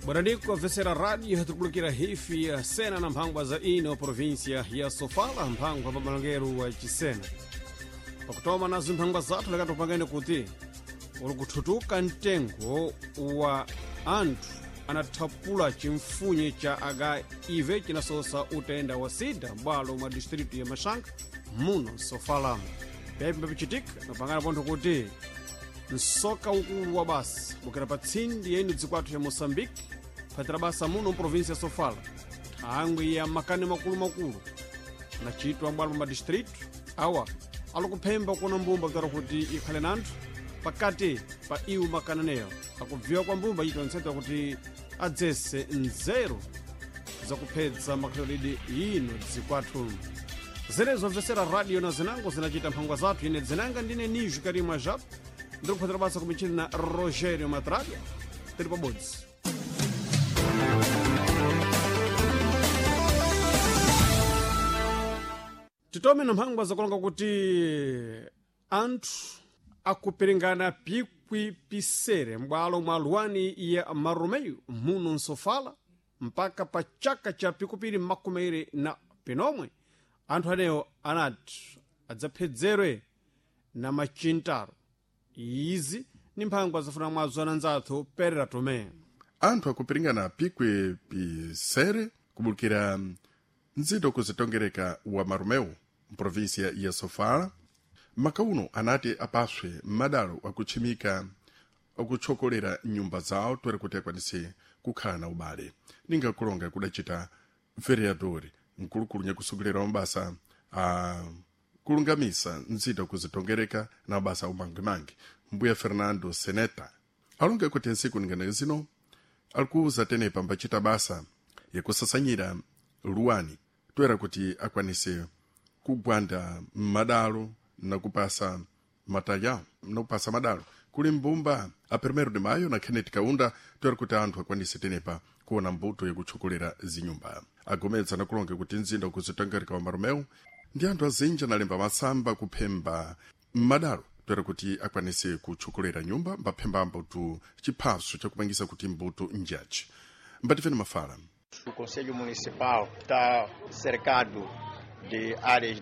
Bwanadiko vesera radio tukulukira hifi ya sena na mphangwa za ino província ya Sofala, mphangwa pa malongeru wa Chisena. Pakutoma nazo mphangwa zathu lekati upangene kuti uli kuthutuka mtengo wa anthu anathapula chimfunye cha HIV chinasosa utenda wa sida m'bwalo mwa distritu ya Maxanga muno Sofala. Pepi papichitika napangana pontho kuti msoka ukulu wa basa bukira pa tsindi ya ino dzikwathu ya Moçambique phatira basa muno mprovinsia ya Sofala, thangwi ya makani makulumakulu nachitwa m'bwalo mwa madistritu awa alikuphemba kuona mbumba kutara kuti ikhale nanthu pakati pa iwo makananeyo akubviwa kwa mbumba ito ntseta kuti adzese nzeru zakuphedza makhalidwe ino dzikwathu. Zenezo mvesera radio na zinango zinachita mphangwa zathu. Ine dzinanga ndine Nijo Karimwa Jap, ndiri basa kumichini na Rogério Matralha. Tiri pabodzi. Titome na mphangwa zakulonga kuti anthu akupiringana pikwi pisere m'bwalo mwa luwani ya Marumeyo muno Nsofala mpaka pa chaka cha pikupiri makumeire na pinomwe anthu anewo anati adzaphedzerwe na machintaro. Izi ni mphangwa zafuna mwazo ananzathu Perera Tomé. Anthu akupiringana pikwi pisere kubulukira nzito kuzitongereka wa Marumeu mprovinsia ya Sofala. Makauno anati apaswe madalo akutchimika akutchokolera nyumba zawo toera kuti akwanise kukhala na ubale. Ningakulonga kudachita vereador mkulukulu nyakusogolera mabasa a kulungamisa nzito kuzitongereka na mabasa umangimangi mbuya Fernando Seneta alonga kuti nsiku ningana zino alikuuza tenepa mbachita basa yakusasanyira luwani toera kuti akwanise kugwanda madalo na kupasa mataya na kupasa madalo kuli mbumba a 1 de maio na Kenneth Kaunda toera kuti anthu akwanise tenepa kuona mbuto yakutchokolera zinyumba. Agomedza nakulonga kuti mzinda ukuzitangarika wa Marumeu ndi anthu azinji analemba masamba kuphemba madalo toera kuti akwanise kutchokolera nyumba mbaphemba mbuto chiphaso chakupangisa kuti mbuto njaji mbatifeni mafala. O Conselho Municipal está cercado de áreas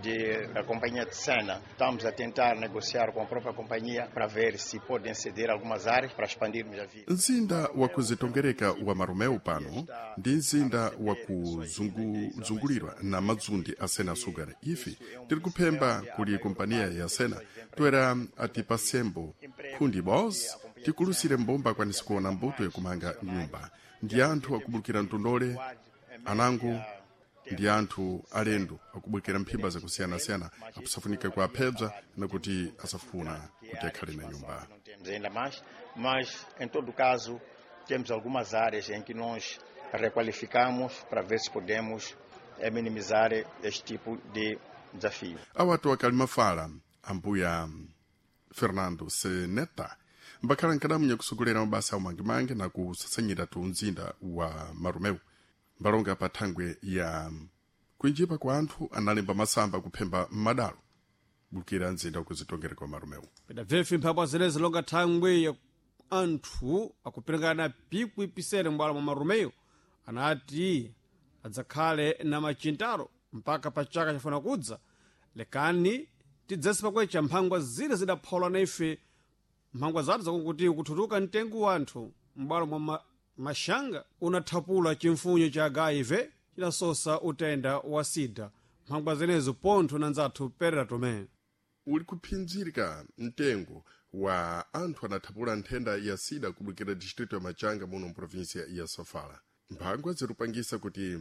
da Companhia de Sena. Estamos a tentar negociar com a própria companhia para ver se podem ceder algumas áreas para expandirmos a vila. Mzinda wa kuzitongereka wa Marumeu pano ndi mzinda wa kuzungulirwa na madzundi a Sena Sugar. Ife tiri kuphemba kuli kompaniya ya Sena toera atipasembo khundi bos tikulusire mbumba akwanise kuona mbuto yakumanga nyumba. Ndi anthu akubulukira mtondole anango ndi anthu alendo akubwekera mphimba zakusiyanasiyana akusafunika kuaphedza nakuti asafuna kuti akhale na nyumba. Não temos ainda mais, mas em todo caso temos algumas áreas em que nós requalificamos para ver se podemos minimizar este tipo de desafio. Awatu akali mafala ambuya Fernando Seneta mbakhala nkadamu nyakusogolera mabasa aumangimangi na kusasanyira tu mzinda wa Marumeu mbalonga pa thangwe ya kuinjipa kwa anthu analemba masamba kuphemba madalo bulukira mzinda wakuzitongereka kwa Marumeu. Pedabvefe mphangwa zenezi longa thangwi ya anthu akupiringana pikwi pisere m'bwalo mwa Marumeyo anati adzakhale na machintaro mpaka pa chaka chafuna kudza. Lekani tidzese pakwecha mphangwa zile zidapholwa na ife mphangwa zathu zakuti kuthutuka mtengo wa anthu m'bwalo mwa Maxanga unathapula chimfunyo cha HIV chinasosa utenda wa sida. Mphangwa zenezo pontho na nzathu Perera Tomé. Uli kuphinzirika mtengo wa anthu anathapula nthenda ya sida kubulukira distrito ya Machanga muno mprovinsia ya Sofala. Mphangwa zirupangisa kuti